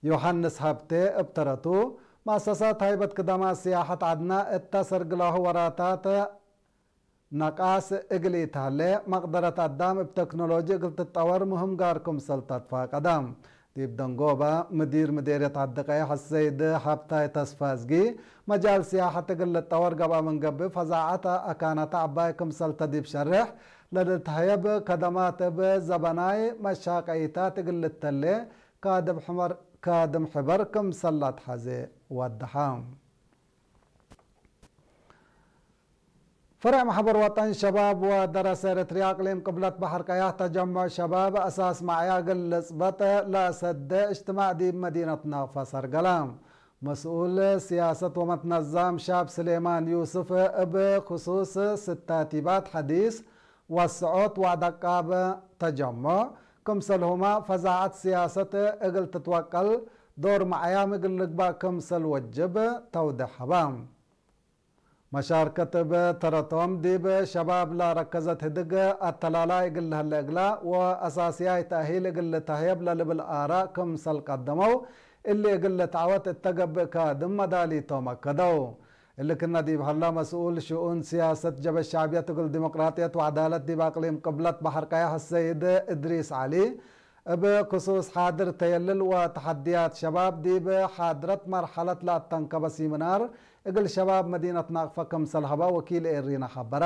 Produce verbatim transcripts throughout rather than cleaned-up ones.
ዮሐንስ ሀብቴ እብ ተረቱ፣ መአሰሳት ሀይበት ክደማት ስያሐት ዐድና እተ ሰርግላሁ ወራታት ነቃስ እግል ኢተሀሌ፣ መቅደረት አዳም እብ ተክኖሎጂ እግል ትትጠወር ምህም ጋር ክምሰል ተትፋቀደ። ዲብ ደንጎበ፣ ምዲር ምዴርየት ዐዲ ቀየሕ አሰይድ ሀብታይ ተስፋዝጊ፣ መጃል ስያሐት እግል ልትጠወር ገብአ ምን ገብእ፣ ፈዛዐት አካናተ ዐባይ ክምሰልተ ዲብ ሸሬሕ ለልትሀየብ ከደማት እብ ዘበናይ መሻቀይታት እግል ልተሌ ካድም ሕበር ክምሰል ለአትሐዜ ወደሐ። ፈሬዕ መሕበር ወጠን ሸባብ ወደረሰ ኤረትርያ አቅሊም ቅብለት በሐር ቀያሕ ተጀምዕ ሸባብ አሳስ መዕያ እግል ልጽበጥ ለአሰደ እጅትማዕ ዲብ መዲነት ናቅፋ ሰርገለ። መስኡል ስያሰት ወመትነዛም ሻብ ስሌማን ዩስፍ እብ ክሱስ ስታቲባት ሐዲስ ወስዖት ወአደቃብ ተጀምዕ፣ ክምሰልሁመ ፈዛዐት ስያሰት እግል ትትወቀል ዶር መዕያም እግል ልግባእ ክምሰል ወጅብ ተውዴሕ ሀበ። መሻርከት እብ ተረቶም ዲብ ሸባብ ለረከዘት ህድግ አተላላይ እግል ለሀለ እግላ ወአሳስያይ ተእሂል እግል ልተህየብ ለልብል አራእ ክምሰል ቀደመው፣ እሊ እግል ልትዐወት እተ ገብእ ካድም መዳሊቶም አከደው። እሊ ክነ ዲብ ሀላ መስኡል ሽኡን ስያሰት ጀበ ሸዕብየት እግል ዲሞቅራጥየት ወዐዳለት ዲብ አቅሊም ቅብለት በሐር ቀያሕ አሰይድ እድሪስ ዐሊ፣ እብ ክሱስ ሓድር ተየልል ወተሐድያት ሸባብ ዲብ ሓድረት መርሐለት ለአተንከበ ሲምናር እግል ሸባብ መዲነት ናቅፈ ክምሰል ሀበ ወኪል ኤሪና ሐበረ።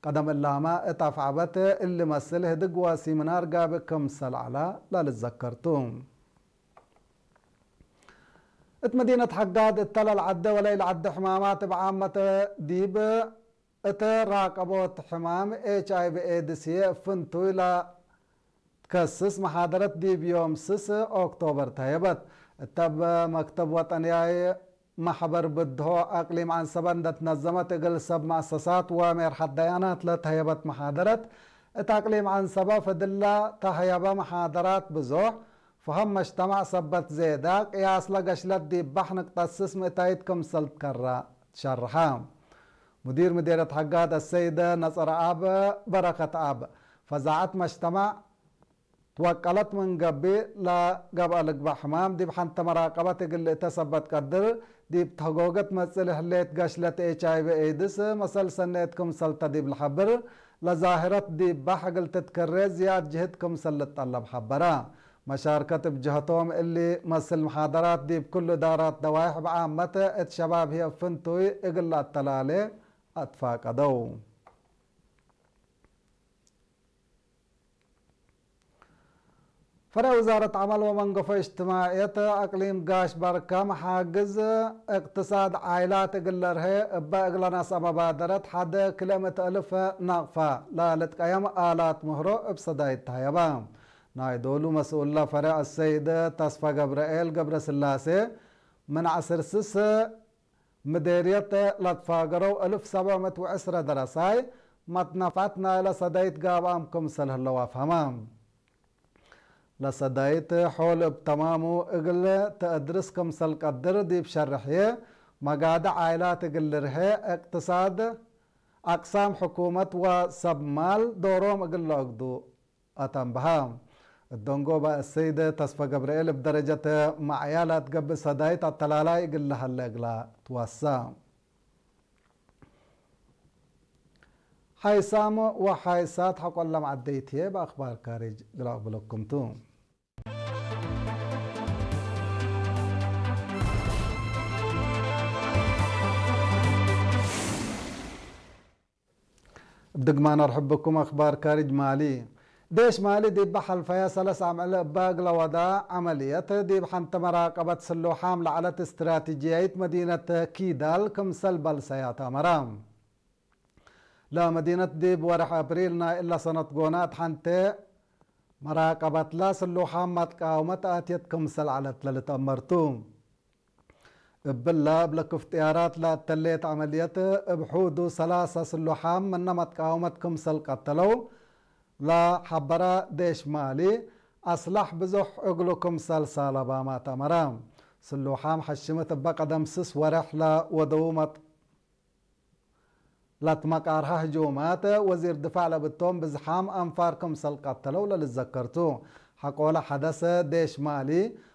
ቀደም እላመ እት አፍዐበት እሊ መስል ህድግ ወሲምናር ጋብእ ክምሰል ዐለ ለልትዘከር ቱ። እት መዲነት ሐጋድ እተ ለልዐደ ወለኢለዐደ ሕማማት እብ ዓመት ዲብ እተ ራቀቦት ሕማም ኤች አይ ቪ ኤድስ ህዬ እብ ፍንቱይ ለትከስስ መሓደረት ዲብ ዮም ስስ ኦክቶበር ተህየበት። እተ እብ መክተብ ወጠንያይ መሕበር ብድሆ አቅሊም ዐንሰበ እንደ ትነዘመት እግል ሰብ መአሰሳት ወሜርሐት ደያናት ለተህየበት መሓደረት፣ እት አቅሊም ዐንሰበ ፍድለ ተህየበ መሓደራት ብዞሕ፣ ፈሀም መጅተማዕ ሰበት ዜዳ፣ ቅያስለ ገሽለት ዲብ በሕ ንቅጠት ስስ ምእታይት ክምሰል ትከረ ትሸርሐ። ሙዲር ምዴርየት ሐጋድ አሰይደ ነጸረአብ በረከትአብ፣ ፈዛዐት መጅተማዕ ትወቀለት ምን ገብእ፣ ለገብአ ልግበእ ሕማም ዲብ ሐንተ መራቀበት እግል ልእተ ሰበት ቀድር፣ ዲብ ተህጎገት መጽእ ለህሌት ገሽለት ኤች አይ ቪ ኤድስ መሰል ሰኔት ክምሰልተ ዲብ ለሐብር፣ ለዛህረት ዲብ በሕ እግል ትትከሬ ዝያድ ጅህድ ክምሰል ልትጠለብ ሐበረ። መሻርከት እብ ጀህቶም፣ እሊ መስል መሓደራት ዲብ ክሉ እዳራት ደዋይሕ ብዓመት እት ሸባብ ህዬ እብ ፍንቱይ እግል ለአተላሌ አትፋቀደው። ፈሬዕ ውዛረት ዐመል ወመንገፎ እጅትማዕየት አቅሊም ጋሽ በርከ፣ መሓግዝ እቅትሳድ ዓይላት እግል ለርሄ እበ እግለ ነስአ መባደረት ሐደ ክልኤ ምእት እልፍ ናቅፋ ለልትቀየም አላት ምህሮ እብ ሰዳይት ተህየበ። ናይ ዶሉ መስኡለ ፈሬዕ አሰይድ ተስፈ ገብርኤል ገብረስላሴ፣ ምን ዐስር ስስ ምዴርየት ለትፋገረው እልፍ ሰብዕ ምእት ወዕስረ ደረሳይ፣ መትነፍዐት ናይለ ሰዳይት ጋብአም ክምሰል ህለው አፍሀመ። ለሰዳይት ሖል እብ ተማሙ እግል ተአድርስ ክምሰል ቀድር ዲብ ሸርሕዬ፣ መጋድዕ ዓይላት እግል ልርሄ፣ እቅትሳድ፣ አቅሳም ሕኩመት ወሰብ ማል ዶሮም እግል ለአግዱ አተንብሀ። እት ደንጎበ አሰይድ ተስፈ ገብርኤል እብ ደረጀት መዕያ ለአትገብእ ሰዳይት አተላላይ እግል ለሀለ እግላ ትወሰ። ሓይሳም ወሓይሳት ሐቆ ለመዐደይት ህዬ በአክባር ካርጅ እግል አቅብለኩም ቱ። እብ ድግማን አርሕብኩም። አክባር ካርጅ ማሊ። ዴሽ ማሊ ዲብ ሐልፈየ ሰለስ አምዕል እበ እግለ ወዳ ዐመልየት፣ ዲብ ሐንተ መራቀበት ስሉሓም ለዐለት እስትራቲጅያይት መዲነት ኪዳል ክምሰል በልሰያት አመረ። ለመዲነት ዲብ ወርሕ አፕሪል ናይ እለ ሰነት ጎናት ሐንቴ መራቀበትላ ስሉሓም መትቃውመት አትየት ክምሰል ዐለት ለልትአመር ቱ። እብለ እብ ለክፍ ጥያራት ለአተሌት ዐመልየት እብ ሑዱ ሰላሰ ስሉሓም ምነ መትቃውመት ክምሰል ቀተለው ለሐበረ ዴሽ ማሊ፣ አስላሕ ብዞሕ እግሉ ክምሰል ሳለባማት አመረ። ስሉሓም ሐሽምት እበ ቀደም ስስ ወሬሕ ለወደዉ መት-፣ ለትመቃርሀ ህጁማት ወዚር ድፋዕ ለብቶም ብዝሓም አንፋር ክምሰል ቀተለው ለልዘከር ቱ። ሐቆለ ሐደሰ ዴሽ ማሊ